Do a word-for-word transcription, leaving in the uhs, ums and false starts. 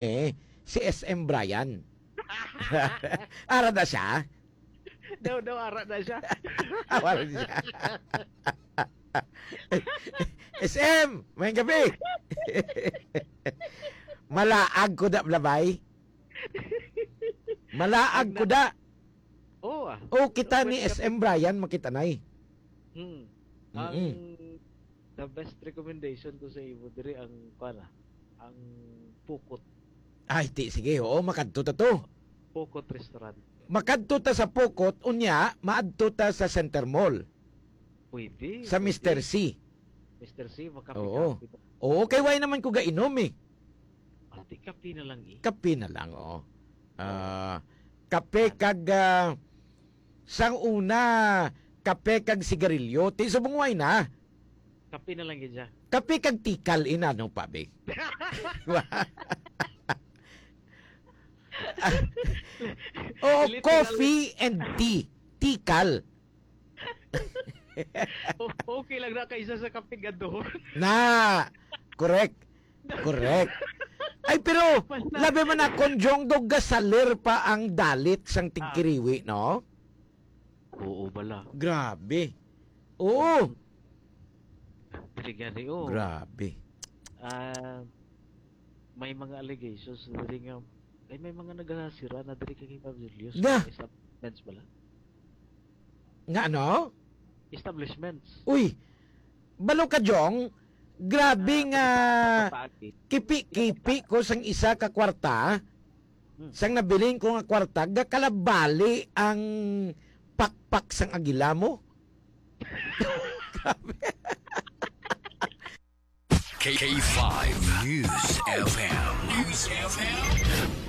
eh, si S M Brian. Ara na siya? Daw, daw, ara na siya. Awal siya. S M, may gabi. Malaag ko da, Blabay. Malaag ko da. Oo, ah. O, kita ni S M Brian, makitanay. Hmm. Ang Mm-mm. The best recommendation ko sa imo diri ang, kuan, ah, ang Pukot. Ay, ti, sige, oo, makadto ta to. Pukot Restaurant. Makadto ta sa Pukot, unya, maadto ta sa Center Mall. Pwede. Sa pwede. Mister C. Mister C, Oo. makape-kape. Oo, kay why naman ko gainom eh. Ati, kape na lang eh. Kape na lang, oo. Ah, kape kag, ah, sang una, kape kag sigarilyo. Ti subong why na. Kape na lang gid siya. Kape kag tikal, inano pa, be? Oo, Literal. Coffee and tea. Tikal. O- okay lang na kaysa sa kape gaduhon. Na. Correct. Correct. Ay, pero labi man na kon Jong, do gasalir pa ang dalit sang tigkiriwi, no? Oo, bala. Grabe. Oo. Dili gani, oh. Grabe. Ah, may mga allegations na diri nga, ay, may mga nagasira na diri kay Ma'am Julius. Nga. Establishments bala. Nga ano? Establishments. Uy, balo ka, Jong. Grabe nga Pataagi. kipi-kipi ko sang isa ka kwarta. Hmm. Sang nabilin ko nga kwarta, gakalabali ang pakpak sang agila mo. K five News F M. News F M.